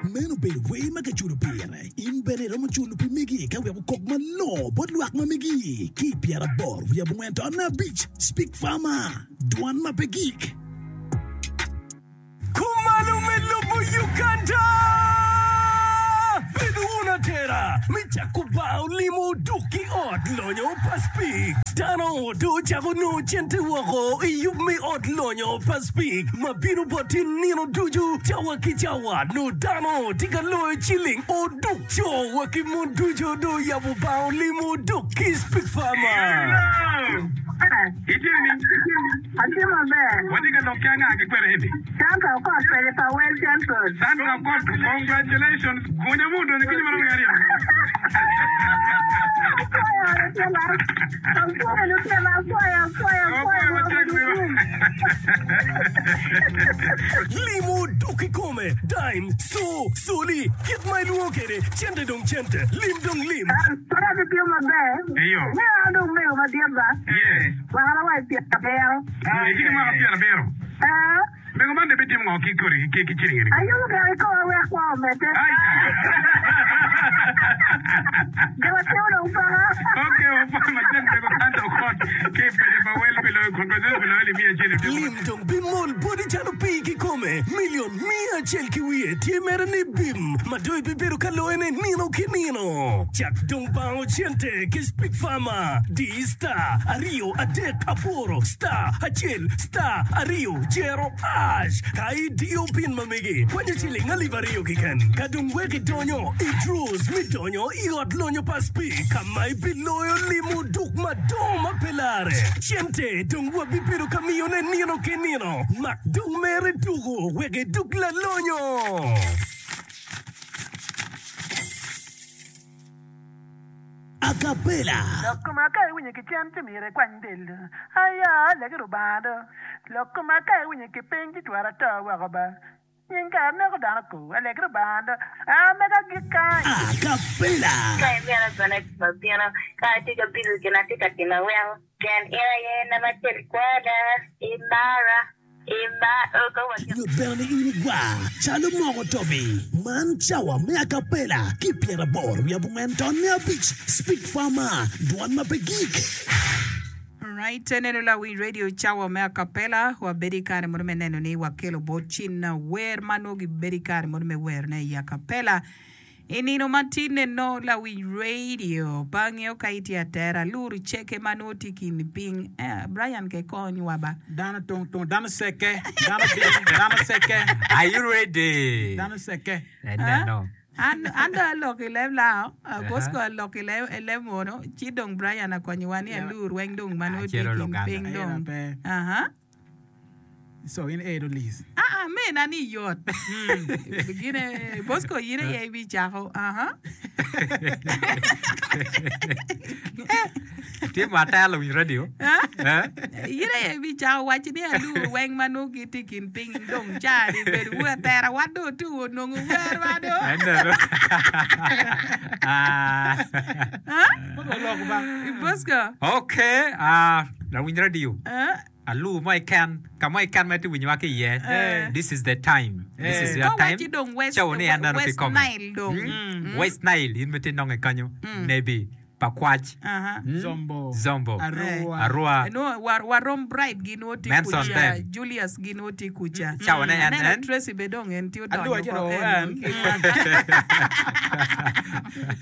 Meno obedo wer ma kiculo pire. In bene iromo culo pi megi ka wek okok malongo bot lwak ma megi ki i 84.5 Speak Farmer, Dwan ma pe gik. Kumalo me lobo Uganda! Bedo wun atera me cako bar olimo duk ki ot lonyo pa Speke. Dano dong ocako nongo cente woko i yub me ot lonyo pa Speke ma bino boti nino ducu cawa ki cawa. Nongo dano tye ka loyo ciling oduk. Co wa ki mon ducu dong oyabo bar olimo duk ki Speke Farmer. Atye maber. Watye ka lok ki anga ki kwene eni? Sandra Okot kwede pa Well Central. Sandra Okot, congratulations. Gunya mu odonyo kinyo marom ki aryo. Apwoyo lutela. Apwoyo lutela, apwoyo, apwoyo, apwoyo. Apwoyo matek wiwa. Limo dok kikome, dime, co, coli, kit ma ilwongo kwede, cente dong cente, lim dong lim. Pud atye maber. Eyo. Meno an dong mego madit ba. Yes. Mwakana wa i pyerabiro. Itye ki mwaka pyerabiro? Ee. Mego man dong ibitimo ngo ki kodi ki ciling eni? Ayubo gire i koma wek kwo omedde. Jo matino dong paka. Ok, wapwoyo matek mego Santa Okot ki i paco pa Wel pi loyo congratulations pi loyo alip miya acel i odiko. Lim dong bimol boti calo pii kikome. Milion miya acel ki wiye tye mere ni bim ma dong ibibedo ka loyone nino ki nino. Cak dong bango cente ki Speak Farmer. Di star aryo adek aboro star acel star aryo jero ash ka idiyo pin ma megi kwanyo ciling alip aryo keken ka dong wek idonyo i draws me donyo i ot lonyo pa Speke ka ma ibiloyo limo duk madongo ma pe lare. Cente dong wabibedo ka miyone nino ki nino. Mak dong mere tuku wek iduk lalonyo. Acapella. Lok koma ka iwinyo ki cen ci myero ikwany del do. Aya, legi Rubanga do. Lok koma ka iwinyo ki piny ci twero ato woko ba. Nying kare neko dano ko. Alegi Rubanga do. A mega agik kany. Acapella. Ka imito bene abino, ka atye ka bico gin atye ka timo aweko, pien in aye nama acel kweda, imara. Nyut bene ni in igwar calo moko tobi. Man cawa me acapella ki pyeraboro wiye abongwen ton me abic Speak Farmer, dwan ma pe gik. Right, neno lawiny radio cawa me acapella wabedo i kare mono me neno ni wakelo bot cin wer ma nongo gibedo i kare mono me werone i acapella. I nino ma tinne nongo lawiny radio pe angeyo ka itye atera aluru ceke ma nongo tye i kin piny. Eh, Brian ke kony wa ba. Dano tung tung, dano seke, dano bim, dano seke. Are you ready? Dano seke. Eneno. An, an dong aloko i leb lao, Bosco aloko i leb, i leb munu, ci dong Brian akonyowa ni alur weng dong ma nongo tye i kin piny dong. Aha. So in edo Liz. Aa, mena ni yot. Gine, Bosco in aye ibicako. Aha. Tye mo atera lawiny radio. Eh? In aye ibicako waco ni alur weng ma nongo gitye i kin piny dong ca ni bedo wu atera wan dong otuko onongo werwa do. Eneno. Ah. Bosco. Okay, ah, lawiny radio. Eh? Alur mo keken, ka mo keken ma itye winyowa ki iye, this is the time, this is your Ka time. waci dong West, Cawa ni en neno West kikome. Nile dong. Mm. West Nile, in ma itye nonge kanyo, Nebi, Pakwach, Aha. mm, Zombo. Zombo, Arua. Arua, No, war, warom Bright gin woti Manson kuca, Ben. Julius gin woti kuca. Cawa ne en Aneno en. Tracy be dong en tye odonyo Adwogo acito oko en. en.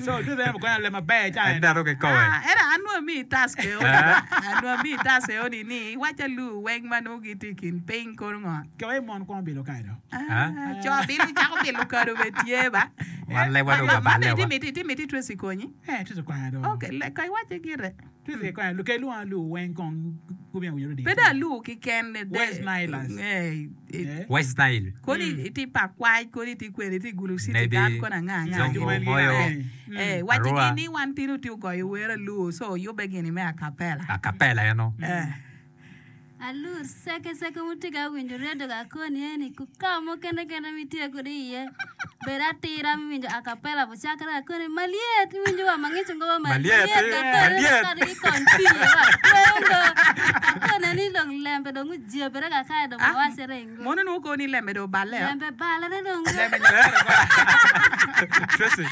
So ducu en okonyo leb maber ca En en. dano kikome. Ah, ento an nongo amiyi task eo ni, Eh? an nongo amiyi task eo ni ni iwac alur weng ma nongo gitye i kin piny kono ngo. Ke wai mon kwongo bilo kado. Ah, co bilo cako bilo kado be tye ba. Wan lebwa dong Ma waballe be wa. iti iti miti Tracy konyi. Eh, Tracy okonyo do. Ok, le ka iwace gire. Tracy okonyo, luke lwongo alur weng kong gubino winyo Pe dong alur kiken. West Nilers. Eh, Eh. West Nile. Koni itye Pakwach, koni itye kwene, itye Gulu City Nebi, kan, koni anga anga. Zongo, gini. Moyo, Eh, eh, wacci Arua. gin ni wan tino tye ogoyo wer alur, so oyubbe gini me acapella. Acapella eno. Eh. Alur seke seke wutye ka winjo redio ka koni eni ku ka mo kene kene ma itye kwede iye. Bed atira me winjo acapella bucakere akone malyet iwinjo wa mangico ngoba Malyet, malyet akone malyet. kadi ki kony pii wa tweyo ngo akone ni dong lembe dong ojebere kakae dong Ah, wawacere ingo mono nongo koni lembe dong oballe o. lembe balere dong Lembe nyotere kora. Tracy.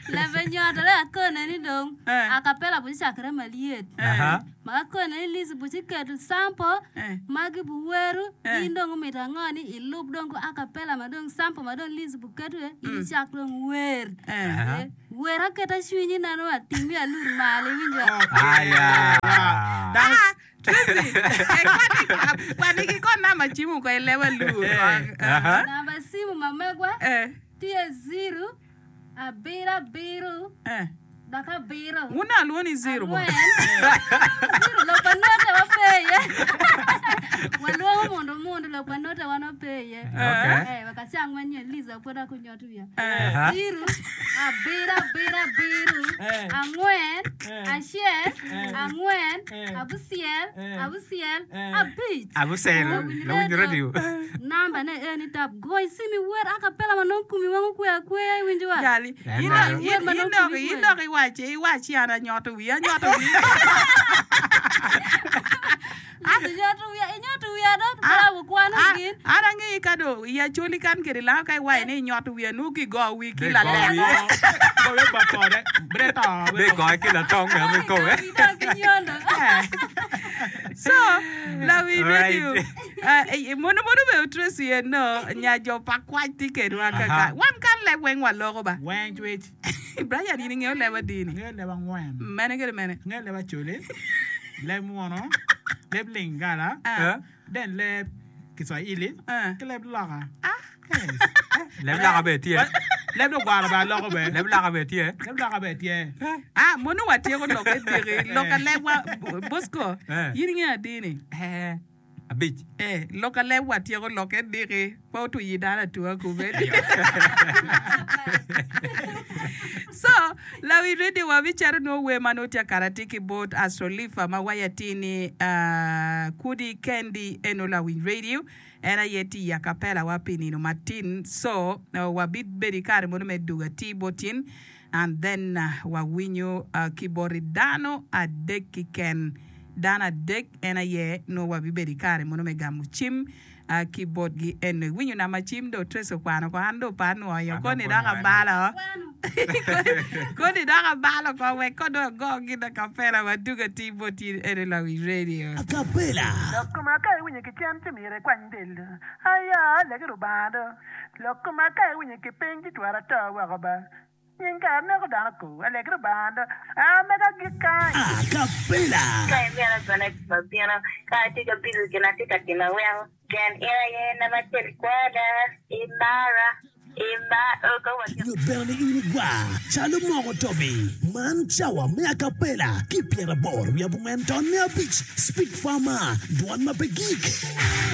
lembe nyotore akone ni dong Eh. acapella bucakere malyet Aha. Ma akone ni Liz buc iketo sample Eh. magi buweru Eh. in dong omito ango ni ilub dong ku acapella ma dong sample ma dong Liz buketo iye in icak dong wer. Eh. Aha. Eh, wer aketa cwinyi neno atingi alur malo iwinjo. Aya. Dano Ah, Tracy, eh, kwani, kwani ki kon namba cimu ko ileb alur. Eh. Aha. Namba simu ma megwa Eh, tye ziro abiro abiro eh. Dok abiro. Wun alwoni ni zero bo. Angwen. Zero lok pa note wape iye. Walwongo mundu mundu lok pa note wan wape iye. Okay. Eh, wek acang manyien Liza pwod akunyot wiya. Aha. Zero, abiro abiro abiro, Eh. angwen, Eh. acel, Eh. angwen, Eh. abucel, Eh. abucel, Eh. abic. Abusel, Lawiny lawiny radio. radio. Namba ne eni tap goy simi wer akapela ma nongo kumi weng okwe akweya iwinjo wa. Jali, En in malo. in Wer ma in nongo dok kumi in kwe. dok iwaci iwaci an anyoto wiya anyoto wiya. Liz inyoto wiya inyoto wiya dot bravo kwano Ah, gin. An angeyi ka do i Acholi kan kede lango ka iwaci ni inyoto wiya nongo kigo wi ki Be lalek. go wi. Goyo ba kode. Bre to. Be goye ki latong me ame kowe. Idok ki nyondo. So, lawi Right. radio. Eh, mono mono be Tracy eno nya jo pa kwac tye kedwa kaka. Aha. Wan kan leb weng waloko ba. Weng cwec. Brian in ingeyo leb adini? Angeyo leb angwen. Mene kede mene? Angeyo leb Acholi, leb Mwono, leb Lingala, Ah. then leb Kiswahili, Ah. ki leb Loka. Ah. Yes. Leb Loka bene tye. Leb Lugwara bene aloko bene. Leb Loka bene tye. Leb Loka bene tye. Ah, mono watyeko lok me diki. Lok alebwa, Bosco, Eh. in ingeyo adini? Eh. Abic. Eh, lok aleb watyeko lokke diki, pe otuyi dano atua kube. So, lawi radio wabicito nwo wer ma nongo tye akara tye ki bot Astrolifa ma waco atir ni ah, kudi kendi eno lawiny radio en aye tye i acapella wa pi nino matin. So, wabibedo i kare mono me dugo atir bot in and then wawinyo ki boti dano adek kiken. Dano adek en aye nongo wabibedo i kare mono me gamo cim ki botgi eno. Iwinyo namba cim do Tracy okwano ko an do pe anwoyo koni dok abalo koni dok abalo ko wek ko dong ago gin acapella wadug atir bot in eno Lawiny Radio. Acapella. Lok koma ka iwinyo ki cen ci myero ikwany del. Aya, legi Rubanga do. Lok koma ka iwinyo ki piny ci twero ato woko ba. Nying kare neko dano ko, alegi Rubanga do. A mega gik kany. Acapella. Ka imito bene mabino, ka atye ka bido gin atye ka timo weko pien in aye namba acel kwada, imara, ima, ka watye. Nyut bene ni in igwar calo moko tobi. Man cawa me acapella ki pyeraboro wiye abongwen ton me abic Speak Farmer, dwon ma pe gik.